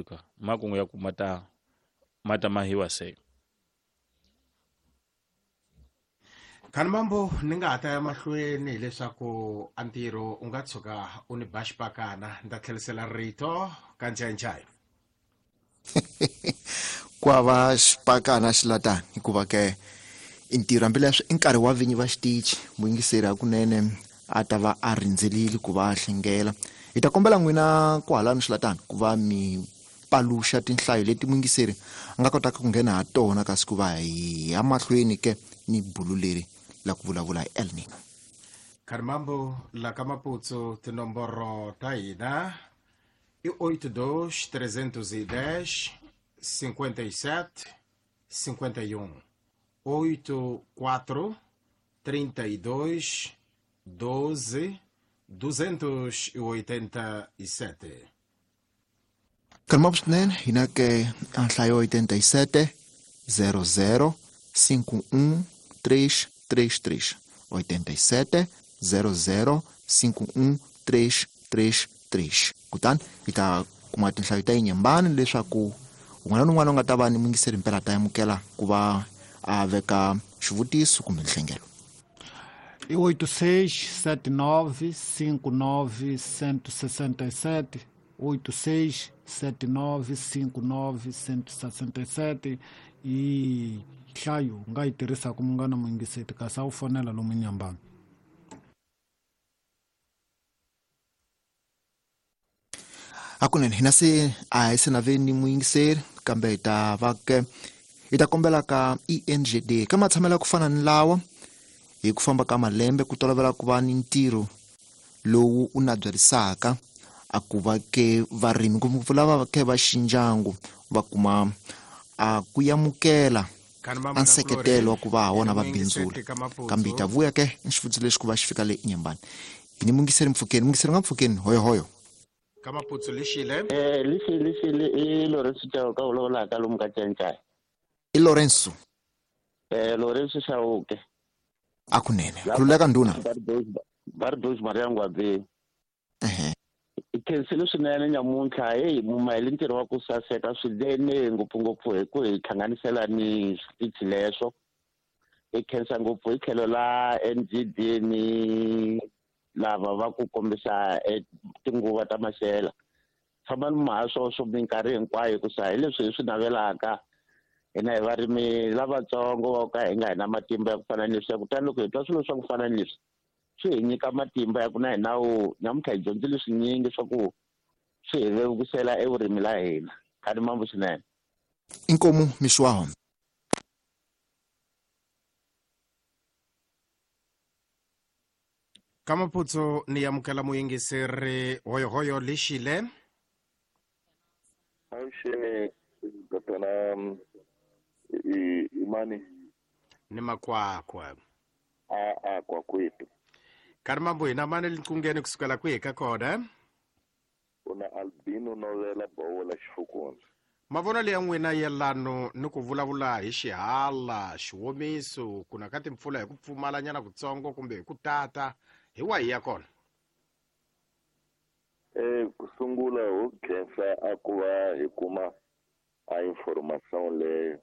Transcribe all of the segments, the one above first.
Ka makungu ya ku ma ta mahiwa se. Khanimambo, ni nga ha ta ya mahlweni hileswaku a ntirho u nga tshuka u ni ba xipakana, ni ta tlherisela rito ka Ncayincaya. Ku hava xipakana xilatani, hikuva ke i ntirho, hambileswi i nkarhi wa vinyi va xitichi. Muyingiseri hakunene a ta va a rindzelile ku va a hlengela. Hi ta kombela n'wina kwahalani xilatani ku va mi paluxa tinhlayo leti muyingiseri a nga kotaka ku nghena ha tona, kasi ku va hi ya mahlweni ke ni bulu leri la ku vulavula hi El Nino. Khanimambo, la ka Maputsu tinomboro ta hina i 82 310 57 51, 84 32 12 287. Kalmap swinene, hina ke a nhlayo 87 00 51 333, 87 00 51 333. Kutani hi ta kuma tinhlayo ta yinyembani leswaku un'wana na un'wana u nga ta va ni muyingiseri mpela ta amukela ku va a veka xivutiso kumbe nhlengelo. I 86 79 59 167, 86 79 59 167 i nhlayo u nga yi tirhisaka, munghana muyingiseti, kasi a wu fonela lomu Nyambani. Hakunene hina se a hi se na ve ni muyingiseri, kambe hi ta va ke hi ta kombela ka ENGD ka matshamelo ya ku fana ni lawa. Hi ku famba ka malembe ku tolovela ku va ni ntirho lowu u nabyerisaka a ku va ke varimi, ngopfungopfu lava ke va xindyangu, va kuma a ku amukela a nseketelo wa ku va ha wona va bindzula. Kambe hi ta vuya ke ni xivutiso lexi ku va xi fika le Inyambani. Hi ni mungiseri mpfukeni, mungiseri nga mpfukeni, hoyohoyo. Ka Maputsu, lixile. Lixile, i Lorenzo Chauke vulavulaka lomu ka Cancaya. I Lorenzo? Lorenzo Chauke. A kunene, khululeka ndhuna. Bardos Maria Ngwabeni. Ehe. Hi khensile swinene nyamuntlha. Heyi, mumahele ntirho wa ku saseka swinene, ngopfungopfu hi ku hi hlanganisela ni switichi leswo. Hi khensa ngopfu hi tlhelo la NGD ni lava va ku kombisa tinguva ta maxela. Tshamani maha swoswo minkarhi hinkwayo, hikusa hi leswi hi swi navelaka hina hi varimi lavatsongo va ka hi nga hi na matimba ya ku fana ni leswiya. Kutani loko hi twa swilo swa ku fana ni leswi, swi hi nyika matimba ya ku na hina wu nyamuntlha hi dyondzile swinyingi swa ku swi hi vevukisela evurimi la hina. Khani mambo swinene. Inkomu mixwaho. Ka Maputsu ni amukela muyingiseri, hoyohoyo, lixile. Avuxeni tatana imani. Ni makwakwa. A kwakwetu. Karhi mambo, hina mani liqungeni kusukela kwihi ka kona? Una Albino Novela Bowola Xifukundza. Mavonelo ya n'wina yelano ni ku vulavula hi xihala, xiwomiso, ku na ka timpfula hi ku pfumalanyana kutsongo kumbe hi ku tata, hi wahi ya kona? Ku sungula ho khensa a ku va hi kuma a information leyo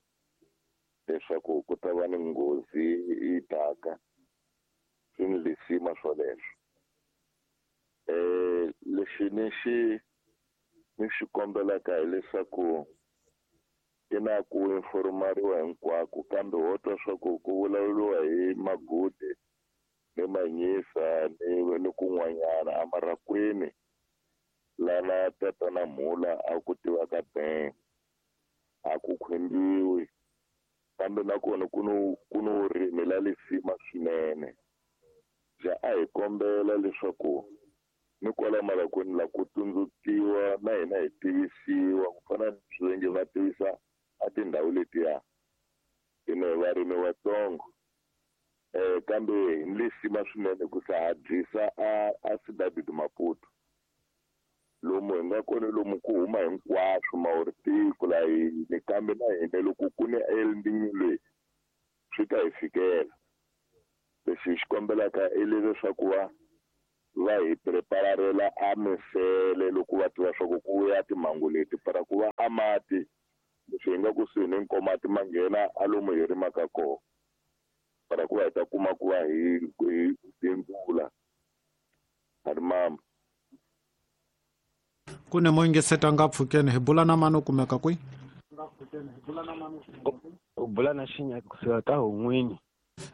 leswaku ku ta va ni nghozi yi taka, swi ni lisima swoleswo. Lexi ni xi kombelaka hileswaku i na ku informariwa hinkwako, kambe ho twa swa ku ku vulavuriwa hi Magude ni Manyisa ni kun'wanyana amarakwini lana tatana Mhula a ku tivaka ben a ku khwembiwi, kambe nakona ku ni vurimi la lisima swinene bya. A hi kombela leswaku ni kwala malakweni la ku tsundzukiwa na hina hi tivisiwa ku fana ni swivenge va tivisa a tindhawu letiya. Hina hi varimi vatsongo, kambe hi ni lisima swinene ku sa hatlisa a Cidade de Maputo lomu hi nga kona, lomu ku huma hinkwaswo mawuri la hini, kambe na hina loko ku ni El Niño leyi swi ta hi fikela. Lexi hi xi kombelaka i leswaku va Va hi prepararela a misele loko va tiva swa ku ku vuya timhangu leti para ku va a mati leswi hi nga kusuhi ni nkomati ma nghena a lomu hi rimaka kona para ku va hi ta kuma ku va hi bindzula a ri mama. Ku ne mo yingiseta nga pfukeni hi bula na mani u kumeka kwihi? U bula na Xinyaki kusuka ka Hun'wini.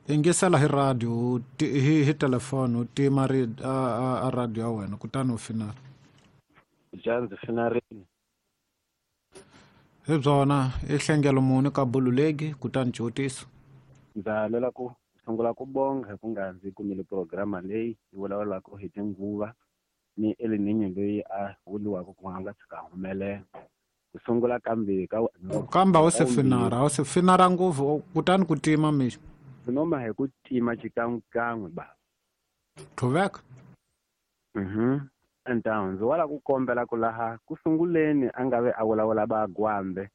Yingisela hi radio hi telefoni u tima a radio ya wena kutani u finala. Ja ndzi finarile. Hi byona i hlengelo muni ka Bululegi kutani xivutiso. Ndza lwela ku sungula ku bonga hi ku nga ndzi kumile programa leyi yi vulavulaka hi tinguva ni El Niño loyi a vuriwaka ku nga tshuka humelela. Ku sungula kambe ka kambe a wu se finara, a wu se finara ngopfu kutani ku tima mixo. Noma hi ku tima xikan'wekan'we ba. Qhuveka. Então ndzi wala ku kombela ku laha ku sunguleni a nga ve a vulavula va Gwambe.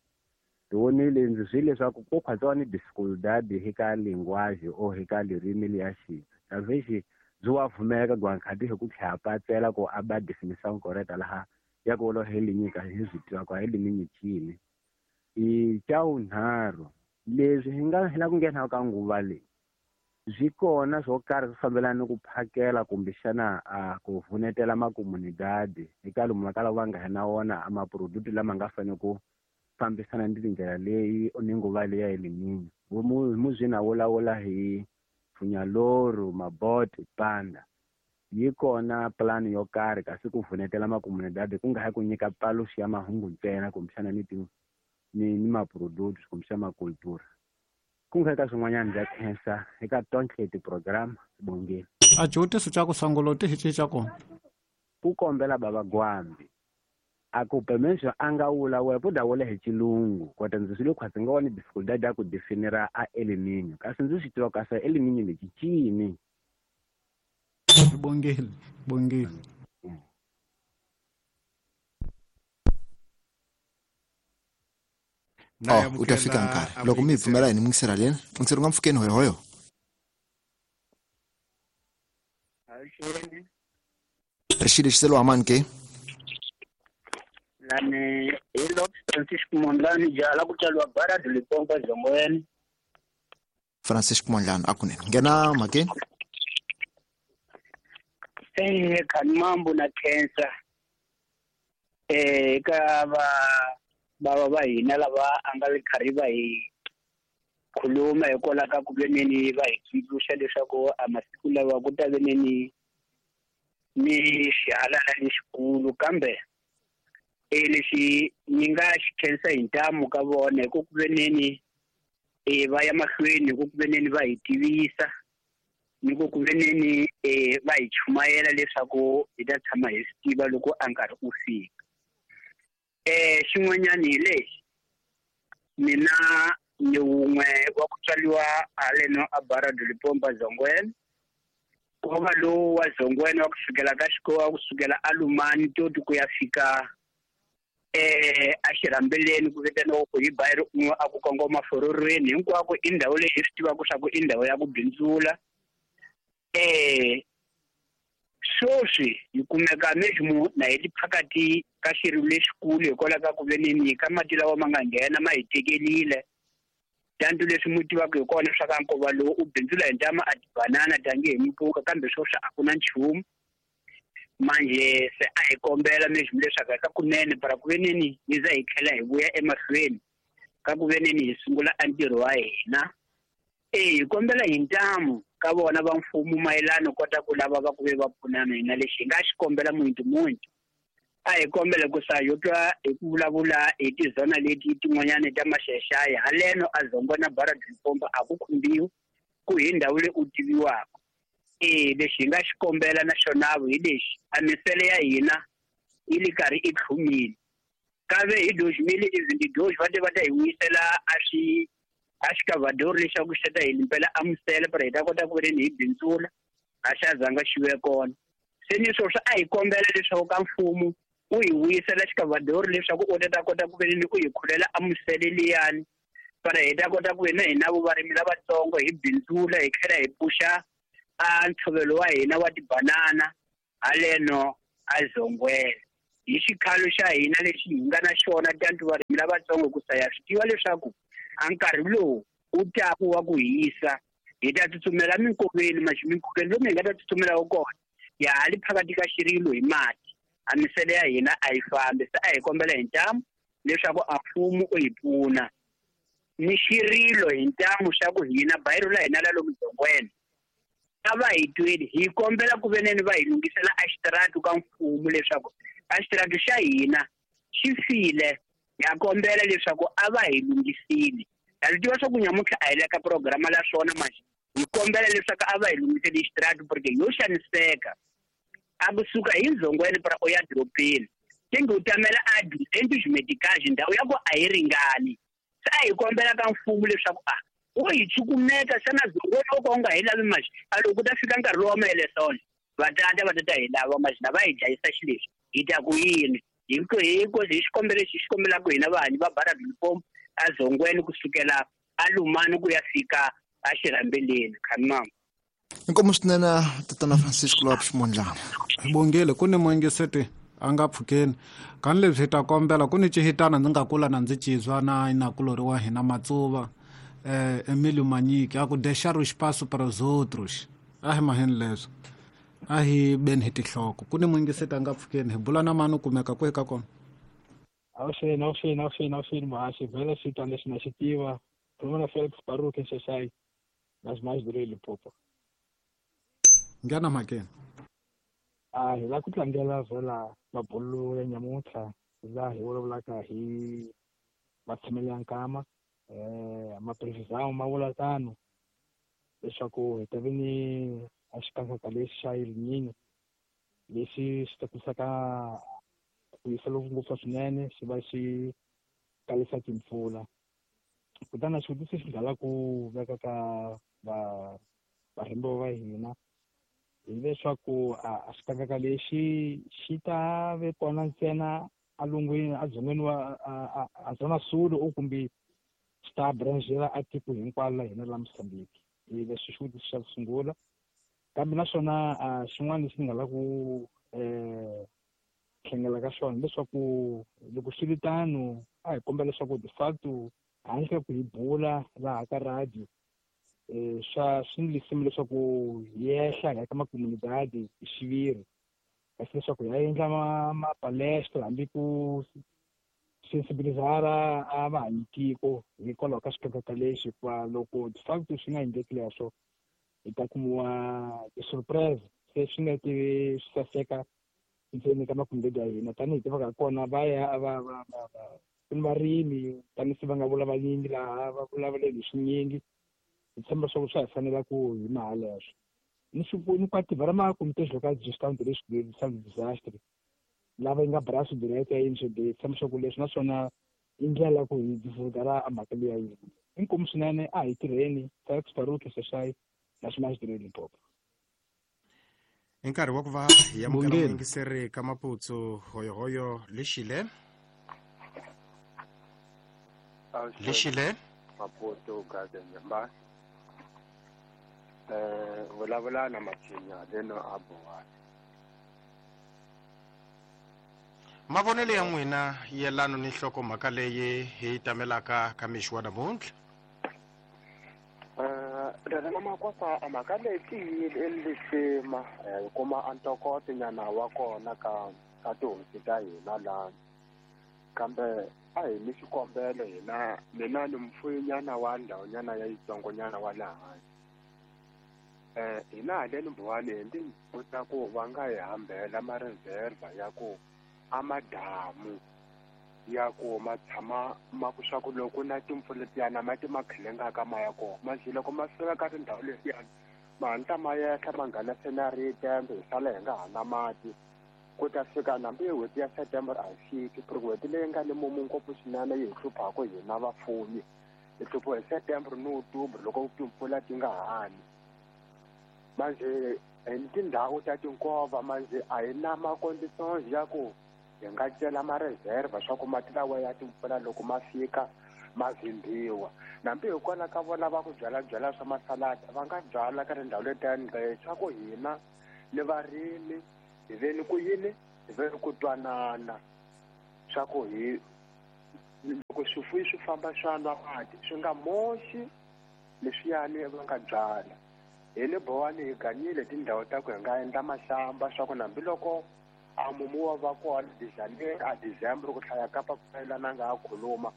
Ndzi vonile ndzi swi leswaku ku khwatsiwa ni dificuldade hi ka linguagem or hi ka ririmi liya xitsonga. Talvez byi wa pfumeka gwankhati hi ku tlhela patsela ku a ba definição correta laha ya ku vula hi linyika hi swi tiva ku hi liminyi chini. I xa vunharhu leswi hi nga hi la ku nghena ka nguva leyi swi kona swo karhi swi fambelana ni ku phakela kumbexana a ku vunetela makomunidadi eka lomu va kalaka va nga na wona a maproduct lama nga fanele ku fambisana ni tindlela leyi ni nguva leyi ya El Niño. Muzwina vulavula hi Funyaloro, Mabote, Panda. Yi kona plan yo karhi kasi ku vunetela makomunidadi ku nga ha ku nyika paluxi ya mahungu ntsena kumbexana ni ni maproduct kumbexana makultura. Ku nga eka swin'wanyana ndza khensa eka tonke ti-program bongeni. A xivutiso xa ku sungula ti hi xa kona. Ku kombela baba Gwambi a ku permission a nga vulavula ku dawula hi xilungu kota ndzi swi le khwatsi nga wona dificuldade ya ku definira a El Niño kasi ndzi swi tiva kasi El Niño lexi cini. Bongeni, bongeni. U ta fika nkarhi loko mi pfumela hi ni yingisela lena ndzi ri nga mpfukeni hoyohoyo. Ri xilo xi selo amani ke lani hi Lord Francisco Mondlane jala ku tswariwa Barad Limpopo Zongweni. Francisco Mondlane a kunene nghena mhakeni. Khani mambo na khensa eka va bava va hina lava a nga le karhi va hi khuluma hikwalaho ka ku veneni va hi tsundzuxa leswaku a masiku lawa ku ta veneni ni xihalala lexikulu kambe lexi ni nga xi khensa hi ntamu ka vona hi ku veneni va ya mahlweni hi ku veneni va hi tivisa ni ku veneni va hi chumayela leswaku hi ta tshama hi swi tiva loko a nkarhi u fika. Xin'wanyani hi lexi mina ni wun'we wa ku tswariwa haleno a Barad Limpopo Zongweni. Nkova lowu wa Zongweni wa kusukela ka xikolo wa kusukela a Lumani toti ku ya fika a Xirhambeleni ku vitaniwa ku hi bayiri un'we a ku kongoma Fororweni hinkwako i ndhawu leyi hi swi tivaka swa ku i ndhawu ya ku bindzula. Sweswi hi kumeka meximo na hi phakati ka xirilo lexikulu hikwalaho ka ku veneni ka mati lawa ma nga nghena ma hi tekelile. Tantu leswi mu tivaka hi kona swa ka nkova lowu u bindzula hi ntama a tibanana tanihi mipuka kambe sweswi a ku na nchumu. Manje se a hi kombela meximo leswaku ka kunene para ku veneni hi za hi tlhela hi vuya emahlweni ka ku veneni hi sungula a ntirho wa hina. Hi kombela hi ntamu ka vona va mfumo mayelana kota ku lava va ku ve va pfunana hina lexi hi nga xi kombela muntu muntu. A hi kombela ku sa yo twa hi ku vulavula hi tizona leti tin'wanyana ta Maxaxaya haleno a Zongwe na Barad Limpopo a ku khumbiwi ku hi ndhawu leyi u tiviwaka. Lexi hi nga xi kombela na xona hi lexi a misele ya hina yi le karhi i tlhumile. Kave hi 2022 va te va ta hi vuyisela a swi a xikavadori lexaku xi ta hi limpela a misele para hi ta kota ku veni hi bindzula a xa zanga xi ve kona. Se ni sweswi a hi kombela leswaku ka mfumo u hi vuyisela xikavadori leswaku u ta kota ku veni u hi khulela a misele liyani para hi ta kota ku veni hina varimi lavatsongo hi bindzula hi tlhela hi pfuxa a ntshovelo wa hina wa tibanana. haleno a Zongwena. Hi xikhalo xa hina lexi hi nga na xona tantu varimi lavatsongo ku saya swi tiva leswaku a nkarhi lowu wu taku wa ku hisa hi ta tsutsumela minkoveni maxi minkoveni lomu hi nga ta tsutsumela kona ya ha li phakathi ka xirilo hi mati a misele ya hina a yi fambi se a hi kombela hi ntamu leswaku a mfumo u hi pfuna ni xirilo hi ntamu xa ku hina bayiro la hina la lomu Zongwena a va hi tweli hi kombela ku veneni va hi lunghisela a xitiratu ka mfumo leswaku a xitiratu xa hina xi file ha kombela leswaku a va hi lunghisile. Ha swi tiva swa ku nyamuntlha a hi le ka programa la swona manje hi kombela leswaku a va hi lunghiseli xitiratu porque yo xaniseka a kusuka hi Nzongweni pra u ya dorobeni tingi u tamela a 200 medicage ndhawu ya ku a yi ringani. Se a hi kombela ka mfumo leswaku a wo hi cukumeta xana Zongweni wo ka u nga hi lavi manje a loko ku ta fika nkarhi lowu wa maelesona vatata va ta hi lava manje na va hi dlayisa xileswi hi ta ku yini hi hi xikombelo lexi hi xi kombelaka hina vahanyi va Barra do Limpopo a Zongweni kusukela a Lumani ku ya fika a Xirhambeleni. Khanimama. Inkomu swinene tatana Francisco Lopes Mondlane. Hi bongile ku ni muingiseti a nga pfukeni kani leswi hi ta kombela ku ni cihitana ndzi nga kula na ndzi cizwa na inakulori wa hina Matsuva Emilio Manyiki a ku deixar o espaço para os outros. A hi maheni leswo a hi beni hi tinhloko ku ni muingiseti a nga pfukeni hi bula na mani u kumeka kwihi ka kona. Awuxeni muhaxi vhele xitwa lexi na xi tiva khuluma na Felix Baruke Nxaxayi na Ximaxidure Limpopo. Nghena mhakeni. A hi la ku tlangela vhela mabulu ya nyamuntlha laha hi vulavulaka hi matshamelo ya nkama maprevisão ma vula tano leswaku hi ta ve ni a xikanyakanya lexi xa El Niño lexi xi tlakusaka ku hisa loku ngopfu swinene xi va xi kalisa timpfula. Kutani xivutiso xi nga ku veka ka varhembiwa va hina hileswaku a xikanyakanya lexi xi ta ve kona ntsena alungwini a dzongeni wa a Zona Sul o kumbe xi ta branchela a tiko hinkwaro la hina la Mozambique. Hi leswi xivutiso xa ku sungula. Kambe naswona xin'wana lexi ni nga lava ku tlhengela ka xona leswaku loko swi ri tano a hi kombela leswaku de facto handle ka ku hi bula laha ka radio swa swi ni lisima leswaku hi yehla hi ya ka makomunidadi hi xiviri kasi leswaku hi ya endla mapalestra hambi ku sensibilizara a vahanyi tiko hikwalaho ka xikanyakanya lexi hikuva loko de facto swi nga endleki leswo hi ta kumiwa ti-surprise se swi nga tivi swi saseka ndzeni ka makomunidadi ya hina tanihi tivaka kona va ya va va va ku ni varimi tanihi se va nga vula vanyingi laha va vulavuleni hi swinyingi hi tshemba leswaku swa hi fanela ku hi maha leswo ni swi ni kwa tiva ra makomite local gestão de risco de disaster lava yi nga braço direto ya NGD hi tshemba leswaku leswi naswona i ndlela ku hi divulgara a mhaka leyi ya yini. Inkomu swinene a hi tirheni Felix Baruke Sexai na Ximaxidure Limpopo. I nkarhi wa ku va hi amukela muyingiseri ka Maputsu hoyohoyo lexile. Lexile Maputo Garden Yamba. Vulavula na Matshinya leno a Bowani. Mavonelo ya n'wina yelano ni nhlokomhaka leyi hi tamelaka ka mixo wa namuntlha. Rena Makwasa a mhaka leyi tiyile lisima hi kuma a ntokoto nyana wa kona ka tihosi ta hina laha kambe a hi ni xikombelo hina mina ni mfuyinyana wa ndhawunyana ya yitsongonyana wa laha hina haleni Mbowani hi ndi vutisa ku va nga hi hambela ma-reserve ya ku a madamu ya ku ma tshama ma ku swa ku loko na timpfula letiyana mati ma khelengaka ma ya kona manje loko ma fika ka tindhawu letiyana ma hatla ma yehla ma nghena senarite hi sala hi nga ha na mati ku ta fika nambi n'hweti ya September a yi fiki ku ri n'hweti leyi nga ni mumu ngopfu swinene yi hi hluphaku hina vafumi hi hluphiwa hi September ni October loko timpfula ti nga hani manje hi tindhawu ta tinkova manje a hi na ma-conditions ya ku hi nga cela ma-reserve swa ku mati lawa ya timpfula loko ma fika ma vhimbiwa nambi hikwalaho ka vona va ku byalabyala swa masaladi va nga byala ka tindhawu letiyani swa ku hina ni varimi Hi veni ku yini, hi veni ku twanana swa ku hi loko swifuyi swi famba swa nwa mati swi nga moxi leswiyani va nga byala. Hi le Bowani hi ganyile tindhawu ta ku hi nga endla mahlamba swa ku hambiloko a mumu wa va kona a December ku hlaya kapa ku nga ha khuluma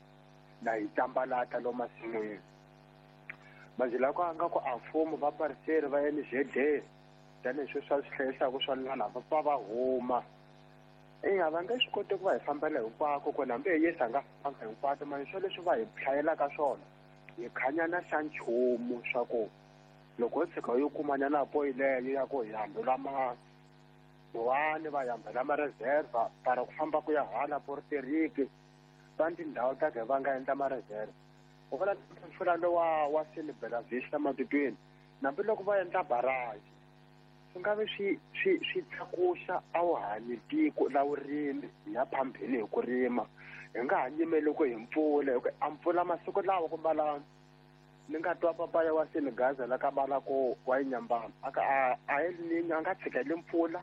na hi tambalata lo masin'wini. Manje loko a nga ku a mfumo va pariseri va NGD tanihi swa swi hlayisaka swa lana va pfa va huma. Eya va nge swi koti ku va hi fambela hinkwako ku hambi hi Yesu a nga fambanga hinkwato manje swo leswi va hi hlayelaka swona hi khanyana xa nchumu swa ku loko ho tshika yo kumanyana poyileyo ya ku hi hambela Bowani va hambela ma-reserve para ku famba ku ya hala Porteriki va tindhawu ta ke va nga endla ma-reserve. U vona mpfula lowa wa Bela Vista matitweni hambiloko va endla barrage swi nga vi swi tlakusa a wu hanyi tiko la vurimi hi ya phambili hi ku rima hi nga ha nyimeli ku hi mpfula hi ku a mpfula masiku lawa ku mbala ni nga twa papaya wa Senegaza la ka bala ko wa Inyambana aka a a nga tshikeli mpfula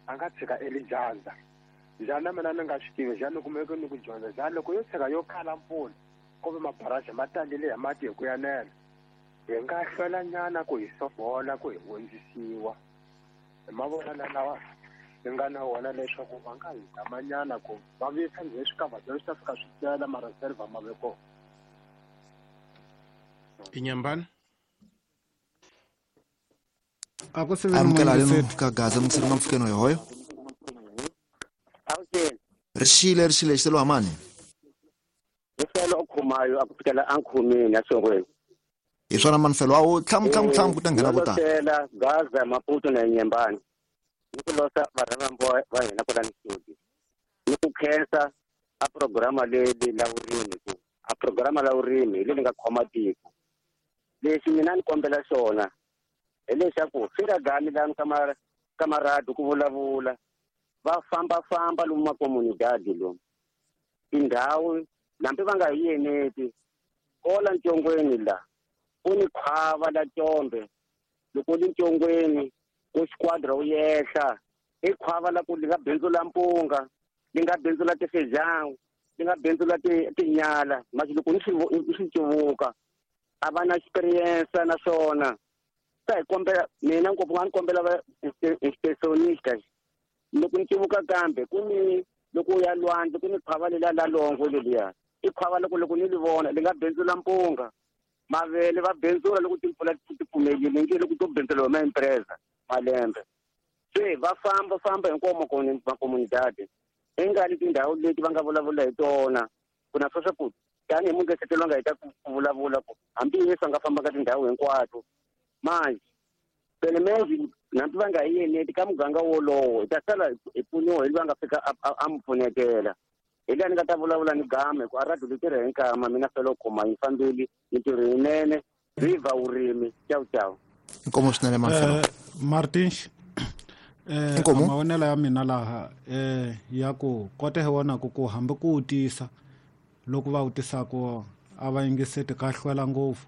a nga tshika elidyandza njhani mina ni nga swi tivi njhani kumeke ni ku dyondza njhani loko yo tshika yo kala mpfula ku ve mabaraji ma talile hi mati hi ku yanela hi nga hlwelanyana ku hi sobola ku hi hundzisiwa hi mavonelo lawa hi nga na wona leswaku va nga hi zamanyana ku va vuyisa njhe swikavhadyana swi ta fika swi tela ma-reserve ma ve kona. Inyambana amukela leno ka Gaza mutshiri nga mpfukeni hoyo. Rixile xiselo amani. Xiselo okhumayo akufikela ankhumini asongweni. Hi swona manfelo a wu tlhamu ku ta nghena vo tala. Gaza Maputo na Inyambana. Ni ku losa varhambo va hina kwala studio. Ni ku khensa a programa leyi la vurimi ku a programa la vurimi leyi nga khoma tiko. Lexi mina ni kombela xona hileswaku swi nga gami lani ka maradu ku vulavula va fambafamba lomu makomunidadi lomu tindhawu hambi va nga hi yeneti kola ntshongweni la ku ni khwava la Combe loko li ntshongweni ku squadra wu yehla i khwava la ku li nga bindzula mpunga li nga bindzula tifejangu li nga bindzula tinyala masi loko ni swi cuvuka a va na experience naswona ta hi kombela mina ngopfu nga ni kombela va inspectionista loko ni cuvuka kambe ku ni loko u ya lwandle ku ni khwava leliya la longo leliya i khwava loko ni li vona li nga bindzula mpunga mavele va bindzula loko timpfula ti pfumelile nge loko to bindzula hi maimpresa malembe se va famba hinkwawo makomunidadi i nga li tindhawu leti va nga vulavula hi tona ku na swa ku tanihi mungesetelo nga hi ta ku vulavula ku hambi Yesu a nga famba ka tindhawu hinkwato manje pele menji hambi va nga hi yeneti ka muganga wolowo hi ta sala hi pfuniwa hi loyi a nga fika a mi pfunetela hi laha ni nga ta vulavula ni game ku a radio li tirha hi nkama mina fela u khoma yi fambeli mintirho yinene viva vurimi ciao ciao. Inkomo swinene Marcelo. Martin mavonelo ya mina laha ya ku kota hi wona ku hambi ku wu tisa loko va wu tisaka a va yingiseti ka hlwela ngopfu.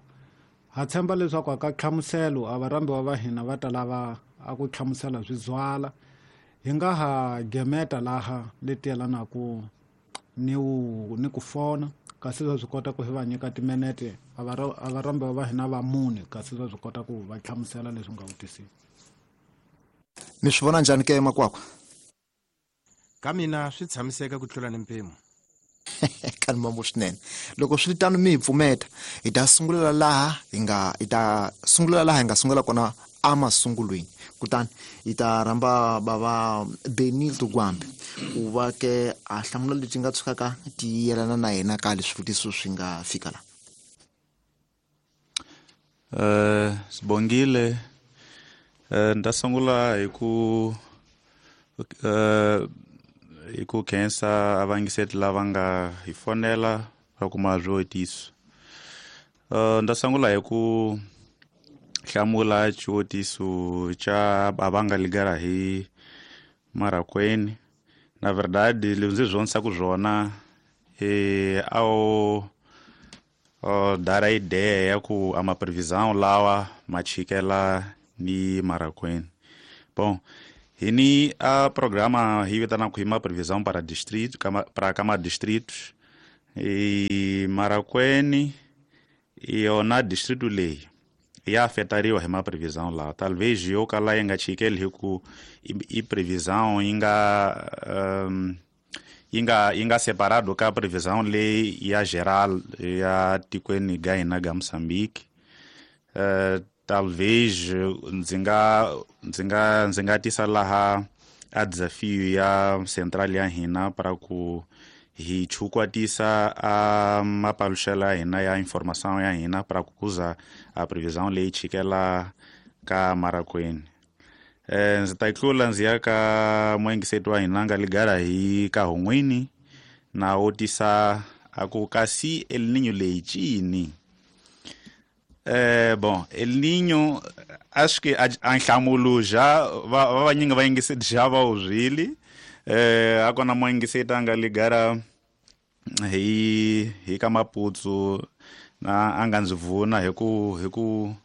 Ha tshemba leswaku aka hlamuselo a varhambiwa va hina va ta lava a ku hlamusela swi zwala hi nga ha gemeta laha leti yelanaka ni ku fona kasi va swi kota ku hi va nyika timinete a varhambiwa va hina va mune kasi va swi kota ku va hlamusela leswi nga vutisiwa. Mi swi vona njhani ke makwakwa? Ka mina swi tshamiseka ku tlula ni mpimo. Kani mambo swinene loko swi tano mi hi pfumeta hi ta sungulela laha hi nga sungula kona emasungulweni kutani hi ta rhamba bava Benildo Gwambe ku va ke a hlamula leti nga tshukaka ti yelana na yena ka leswi swivutiso swi nga fika la. Sibongile nda sungula hi ku khensa avangiseti lava nga hi fonela va kuma swivutiso. Nda sungula hi ku hlamula xivutiso xa va nga ligara hi Marracuene. Na verdade leswi ndzi zvonisa swona ao dar a ideia ya ku a ma previsão lawa ma chikela ni Marracuene. Bom, Hi ni a programa hi vitanaka hi ma previsão para distrito, para kama distritos e Marracuene yona distrito leyi ya afetariwa hi ma previsão lawa. Talvez yo kala yi nga chikeli hi ku i previsão yi nga yi nga separado ka previsão leyi ya geral ya tikweni ga hina ga Moçambique. Talvez ndzi nga tisa laha a desafio ya central ya hina para ku hi chukwatisa a mapaluxela ya hina ya informação ya hina para ku kuza a previsão leyi chikela ka Marracuene. Ndzi ta tlula ndzi ya ka muengiseti wa hina nga ligara hi ka Hungwini na wo tisa a ku kasi El Niño leyi cini. Bom, El Niño acho que a nhlamulo já va vanyingi va yingiseti já va wu zwile. A kona muengiseti a nga ligara hi ka Maputsu na a nga ndzi vuna hi ku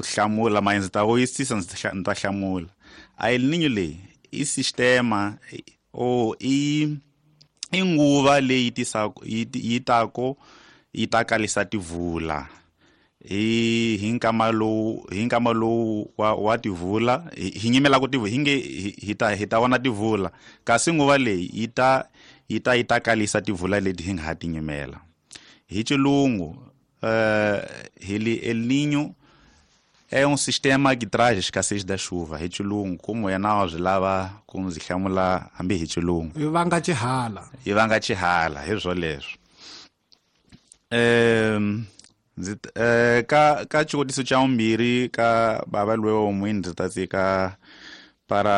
hlamula ma ndzi ta vuyisisa ndzi ta hlamula. A El Niño leyi i sistema o i nguva leyi yi tako yi ta kalisa tivula hi nkama lowu wa tivula hi nyimela ku tivula hi nge hi ta vona tivula kasi nguva leyi yi ta kalisa tivula leti hi nga ha ti nyimela. Hi xilungu hi El Niño é um sistema que traz a escassez da chuva. Hi xilungu como yena wa swi lava ku ndzi hlamula hambi hi xilungu. Yi vanga xihala. Yi vanga xihala hi swoleswo. Ndzi ka xivutiso xa vumbirhi ka bava loyi wa n'wini ndzi ta tsika para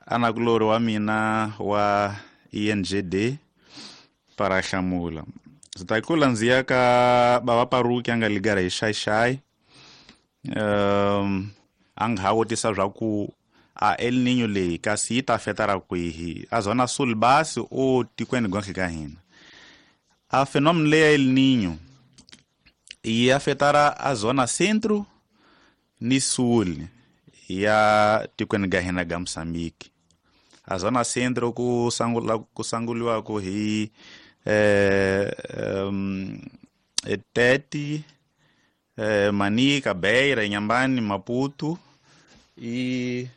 anakulori wa mina wa ENGD para hlamula. Ndzi ta tlula ndzi ya ka bava Paruki a nga ligara hi Xaixai. A nga ha vutisa swa ku a El Niño leyi kasi yi ta afetara kwihi a zona sul basi o tikweni gonhle ka hina. A fenômeno leyi ya El Niño yi afetara a zona centro ni sul ya tikweni ga hina ga Moçambique. A zona centro ku sanguliwaka hi Tete, Manica, Beira, Inhambane, Maputo e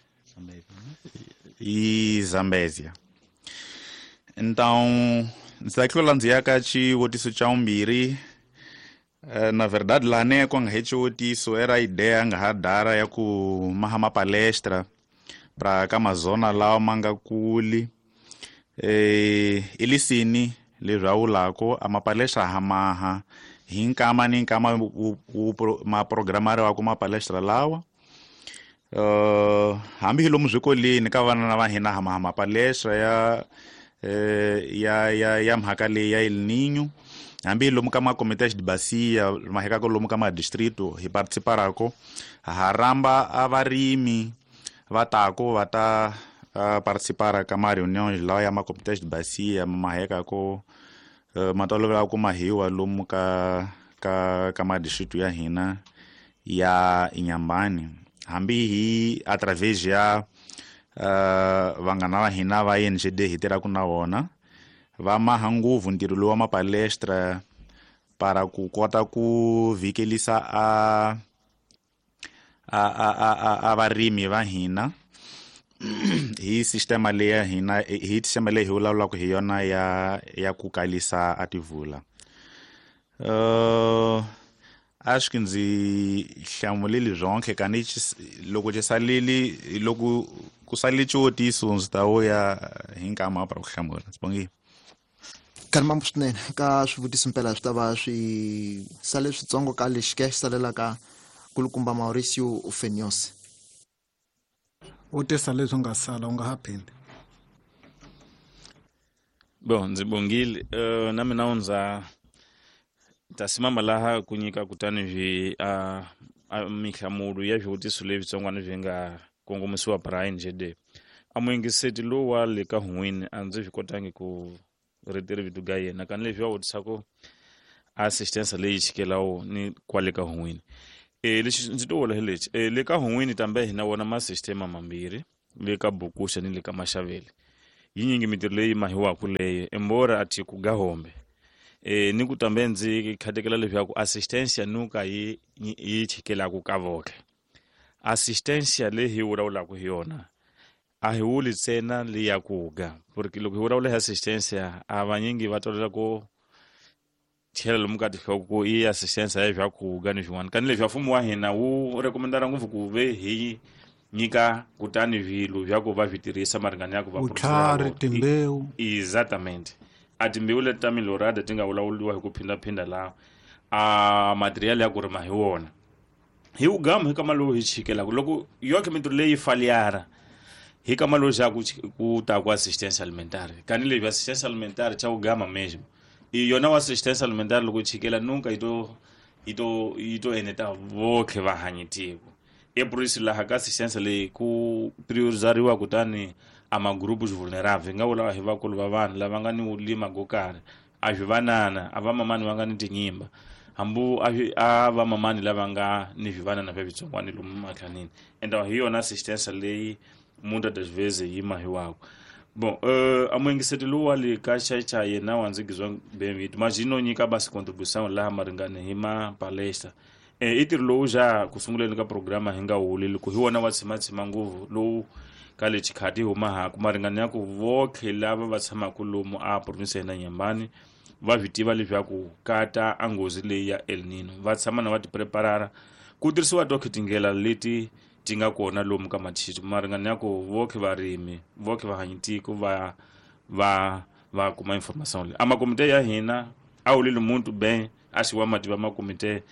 Zambézia. Então, ndzi ta tlula ndzi ya ka xivutiso xa vumbirhi. Na verdade laha ne ku nga he xivutiso era ideia nga ha dara ya ku maha ma palestra pra ka mazona lawa ma nga kuli. Ilisini leswi a vulako a mapalestra ha maha hi nkama ni nkama ma programari wa ku mapalestra lawa. Hambi hi lomu swikolweni ka vana va hina ha maha mapalestra ya mhaka leyi ya El Niño. Hambi lomu ka macomités de bacia mahekako lomu ka madistrito hi participarako ha ramba a varimi va tako va ta participar ka ma reuniões lawa ya macomités de bacia mahekako ma tolovela ku mahiwa lomu ka madistrito ya hina ya Inhambane. Hambi hi através ya vanghana va hina va ENGD hi tirhaka na vona va maha ngopfu ntirho lowu wa mapalestra para ku kota ku vhikelisa a varimi va hina hi sistema leyi ya hina hi sistema leyi hi vulavulaka hi yona ya ku kalisa a tivula. Acho que ndzi hlamulile zonke kani loko xi saleli loko ku salele xivutiso ndzi ta vuya hi nkama para ku hlamula. Ndzi bongile. Kanimambu swinene ka swivutiso mpela swi ta va swi sale switsongo ka lexi ke xi salelaka kulukumba Mauricio Fenyosi. U tisa leswi nga sala u nga ha phindi. Bon, ndzi bongile. Na mina ndza ta simama laha ku nyika kutani swi a mihlamulo ya swivutiso leswitsongwana swi nga kongomisiwa Brian JD. A muyingiseti lowu wa le ka Hungwini a ndzi swi kotangi ku ri vito ga yena kani leswi va vutisaka assistance leyi chikelawo ni kwale ka Hungwini. Lexi ndzi to vula hi lexi le ka Hun'wini tambe hi na wona masistema mambirhi le ka Bukuxa ni le ka Maxavele yinyingi mintirho leyi mahiwaku leyo embora a thi ku gahombe ni ku tambe ndzi khatekela leswaku assistance nuka yi yi chikelaku ka voke assistance leyi hi vulavulaka hi yona a hi wuli ntsena leyi ku ga porque loko hi vulavula hi assistance a vanyingi va tolela ku chela lomu ka tinhloko ku i assistance ya swa ku ga ni swin'wana kani leswi mfumo wa hina wu rekomendara ngopfu ku ve hi nyika kutani swilo swa ku va swi tirhisa maringani ya ku va vutlhari timbewu exactamente a timbewu leti ta milorada ti nga vulavuriwa hi ku phindaphinda laha a material ya ku rima hi wona hi wugamu hi kama lowu hi chikelaka loko yoke mintirho leyi faliara hi kama lowu xa ku ta ku assistance alimentare kani leswi assistance alimentare cha wugama mesmo i yona wa assistance alimentare loko chikela nunca yi to eneta votlhe va hanyitiko epurisi laha ka assistance leyi ku priorizariwa kutani a magrupu vulnerable hi nga vula hi vakulu va vanhu lava nga ni wulima go karhi a swi vanana a vamamani va nga ni tinyimba hambu a vamamani lava nga ni swivanana swa switsongwani lomu matlhanini ende hi yona assistance leyi muitas das vezes yi mahiwako bon a muengiseti lowu wa le ka xaxa yena wa ndzi gizwa bem mas yi no nyika basi contribution laha maringani hi ma palestra i ntirho lowu xa ku sunguleni ka programa hi nga wuli loko hi wona wa tshimatshima ngopfu lowu ka le xikhati hi huma haku maringani ya ku votlhe lava va tshamaka lomu a province ya hina Nyambani va swi tiva leswaku kata a nghozi leyi ya El Nino va tshama na va ti preparara ku tirhisiwa tokhe tindlela leti ti nga kona lomu ka mathitu maringani ya ku votlhe varimi votlhe vahanyitiko va kuma information leyi a makomite ya hina a wulile muntu ben a xi wa mativa makomite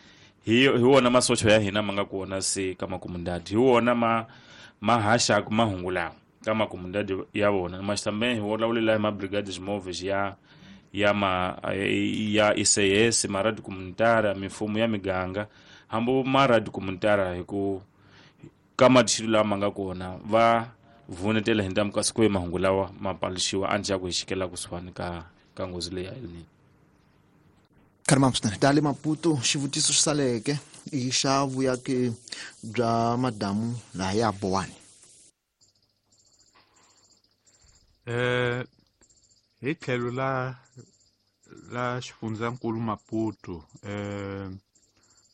hi wona masocha ya hina ma nga kona se ka makomundadi hi wona ma haxaku mahungu lawa ka makomundadi ya vona mas também hi vulavula hi ma-brigades móveis ya ma ya ICS ma radio comunitária mifumo ya miganga hambi ma radio comunitária hi ku ka mathilu lama nga kona va vunetela hi ntamu kasi ku mahungu lawa ma paluxiwa andzhaku hi xikela kusuhani ka nghozi leyi ya El Nino. Karima swinene tale Maputo xivutiso xi saleke i xa vuyaki bya madamu laha ya Bowani. Hi tlhelo la xifundzankulu Maputo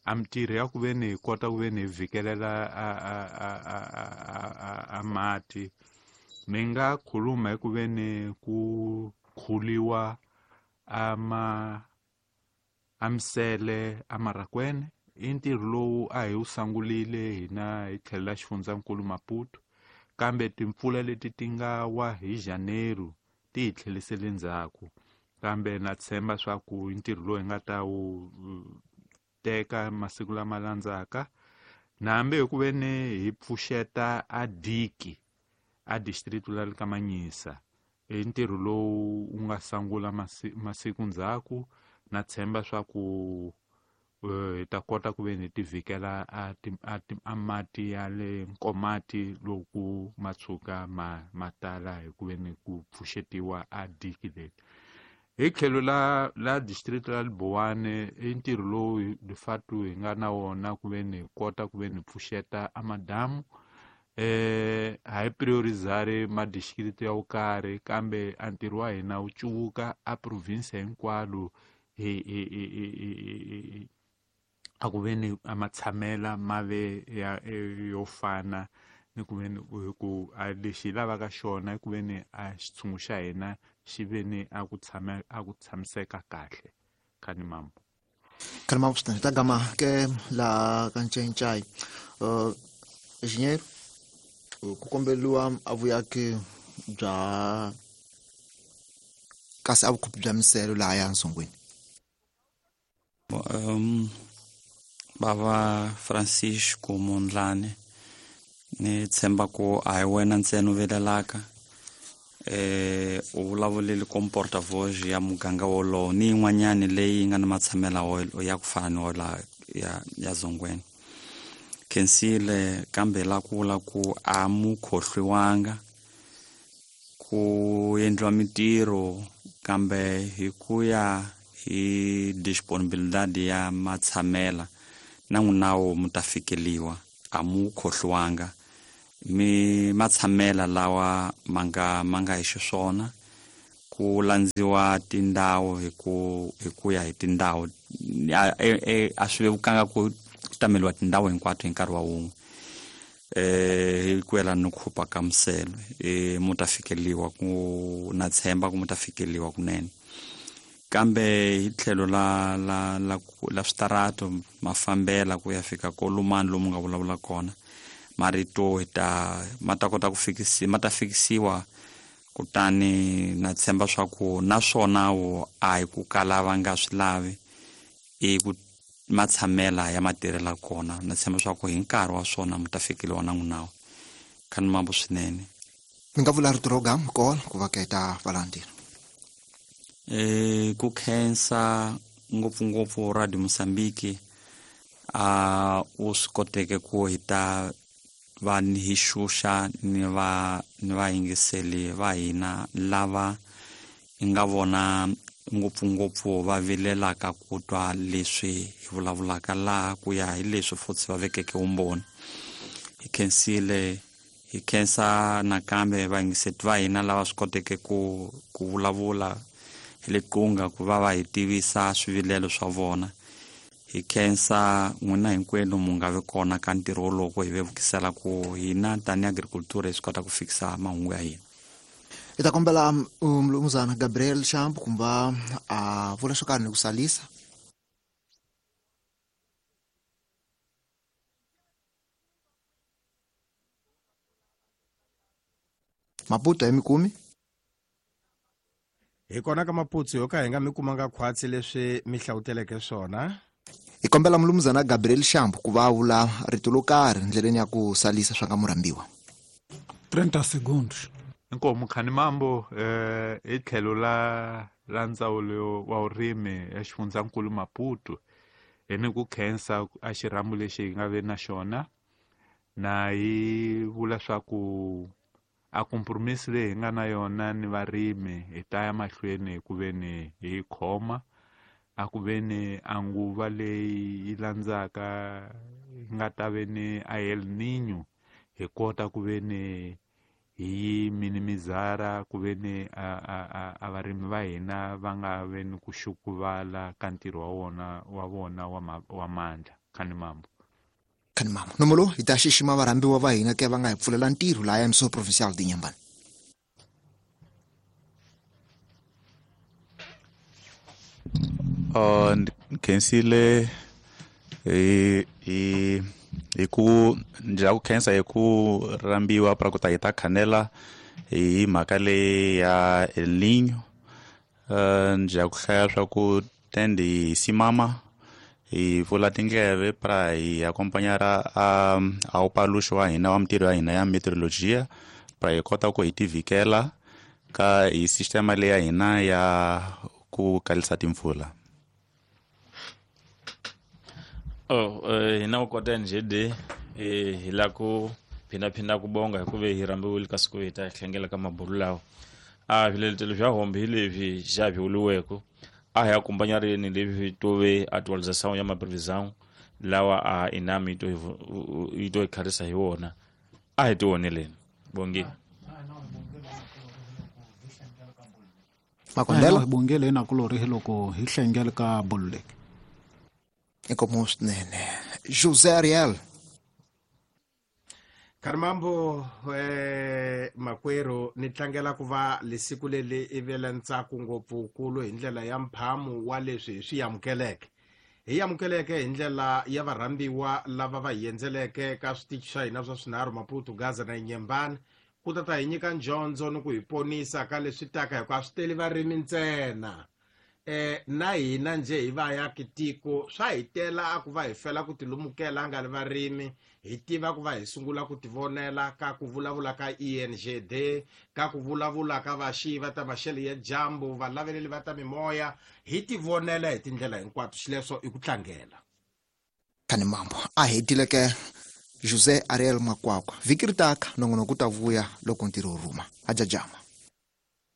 a mintirho ya ku ve ni hi kota ku ve ni hi vhikelela a mati ni nga khuluma hi ku ve ni ku khuliwa ama amisele amarakwene i ntirho lowu a hi wu sungulile hina hi tlhelo la xifundzankulu Maputo kambe timpfula leti ti nga wa hi Janeiro ti hi tlhelisele ndzhaku kambe na tshemba swa ku i ntirho lowu hi nga ta wu teka masiku lama landzaka na hambi hi ku ve ni hi pfuxeta a diki a district la le ka Manyisa i ntirho lowu wu nga sungula masiku ndzhaku na tshemba swa ku hi ta kota ku ve ni ti vhikela a mati ya le Nkomati loku ma tshuka ma tala hi ku ve ni ku pfuxetiwa a diki leri hi tlhelo la district la Libowane i ntirho lowu de fato hi nga na wona ku ve ni hi kota ku ve ni pfuxeta a madamu ha hi priorizari ma district ya wo karhi kambe a ntirho wa hina wu cuvuka a province hinkwalo hi a ku ve ni a matshamela ma ve ya yo fana ni ku ve ni ku a lexi hi lavaka xona i ku ve ni a xitshungu xa hina xi ve ni a ku tshama a ku tshamiseka kahle khani mambo. Karima swinene ta gama ke la ka Ncencai engenheiro ku komberiwa a vuyaki bya kasi a vukhupi bya miselo laha ya Nsongweni. Bava Francisco Mondlane ni tshemba ku a hi wena ntsena u vilelaka u vulavulile kom porta-voz ya muganga wolowo ni yin'wanyani leyi nga ni matshamela ya ku fana ni wola ya Zongweni khensile kambe la ku vula ku a mu khohliwanga ku endliwa mintirho kambe hi ku ya hi disponibilidade ya matshamela Na n'winawo mu ta fikeliwa, a mu khohliwanga. Mi matshamela lawa ma nga hi xiswona, ku landziwa tindhawu hi ku ya hi tindhawu. A swi vevukanga ku tameliwa tindhawu hinkwato hi nkarhi wa wun'we. Hi ku yelana ni ku hupa ka miselo, mu ta fikeliwa, ku na tshemba ku mu ta fikeliwa kunene. Kambe hi tlhelo la la la la switarato mafambela ku ya fika kolumani lomu nga vulavula kona, marito hi ta ma ta kota ku fikisi, ma ta fikisiwa. Kutani na tshemba swa ku naswona wo a hi ku kala va nga swi lavi, i ku matshamela ya matirhela kona. Na tshemba swa ku hi nkarhi wa swona mi ta fikeliwa na n'winawo. Khani mambo swinene. Mi nga vula rito ro gama kona ku va keta valandzeri. Ku khensa ngopfungopfu Radio Mozambique, a u swi koteke ku hi ta va hi xuxa ni vayingiseli va hina lava hi nga vona ngopfungopfu va vilelaka ku twa leswi hi vulavulaka laha, ku ya hi leswi futhi va vekeke vumbhoni. Hi khensile, hi khensa nakambe vayingiseti va hina lava swi koteke ku vulavula hi le qunga ku va va hi tivisa swivilelo swa vona. Hi khensa n'wina hinkwenu mu nga vi kona ka ntirho wolowo hi vevukisela ku hina tanihi agriculture hi swi kota ku fikisa mahungu ya hina. Hi ta kombela mnumzana Gabriel Shamp kumba a vula swo karhi ni ku salisa. Maputo ya mikumi hi kona ka Maputo yo ka hi nga mi kumanga khwatsi leswi mi hlawuteleke swona. Hi kombela mnumzana Gabriel Shamp ku va vula rito lo karhi ndleleni ya ku salisa swa nga murhambiwa. 30 segundos. Inkomu khani mambo hi tlhelo la ndzawulo wa vurimi ya xifundzankulu Maputo, hi ni ku khensa a xirhambo lexi hi nga ve na xona, na hi vula swa ku a compromise leyi hi nga na yona ni varimi hi ta ya mahlweni ku ve ni hi khoma, a ku ve ni a nguva leyi yi landzaka yi nga ta ve ni a El Niño, hi kota ku ve ni hi minimizara ku ve ni a varimi va hina va nga ve ni ku xukuvala ka ntirho wa vona wa mandla. Khani mambo. Khani mambo. Nomolo hi ta xixima varhambiwa va hina ke va nga hi pfulela ntirho laha ya Provincial de Inhambane. Khensile hi ku ndzi ku khensa hi ku rhambiwa pra ku ta hi ta khanela hi mhaka leyi ya El Niño. Ndzi ku hlaya swa ku tendi simama hi pfula tindleve pra hi akompanyara a upaluxo wa hina wa mintirho ya hina ya meteorologia pra hi kota ku hi tivikela ka hi sistema leyi ya hina ya ku kalisa timpfula. Hina ku kota NGD hi la ku phindaphinda ku bonga hikuva hi rhambiwile ka siku hi ta hlengela ka mabulu lawa. A swiletelo swa hombe hi leswi xa swi a hi akompanyarini leswi tove atualização ya maprevisão lawa a inami yi to hi kharisa hi wona. A hi tioneleni. Bongile. Makondela hi bongile na kulori hi loko hi hlengela ka bulu leki. Inkomu swinene. José Ariel. Kharimambo makwerhu ni tlangela ku va lesiku leli i vele ntsako ngopfukulu hi ndlela ya mphamu wa leswi hi swi amukeleke. Hi amukeleke hi ndlela ya varhambiwa lava va hi endzeleke ka switichi swa hina swa swinharhu Maputo, Gaza na Inhambane, ku ta ta hi nyika ndyondzo ni ku hi ponisa ka leswi taka, hikuva a swi teli varimi ntsena. Na hina nje hi vayaki tiko swa hi tela a ku va hi fela ku tilumukela nga ri varimi, hi tiva ku va hi sungula ku tivonela ka ku vulavula ka ENGD, ka ku vulavula ka vaxiyi va ta maxelo ya dyambu, valaveleli va ta mimoya, hi tivonela hi tindlela hinkwato. Xileswo i ku tlangela. Khani mambo a hetileke José Ariel Makwakwa. Vhiki ri taka nongonoko ku ta vuya loko ntirho wu rhuma. A jajama.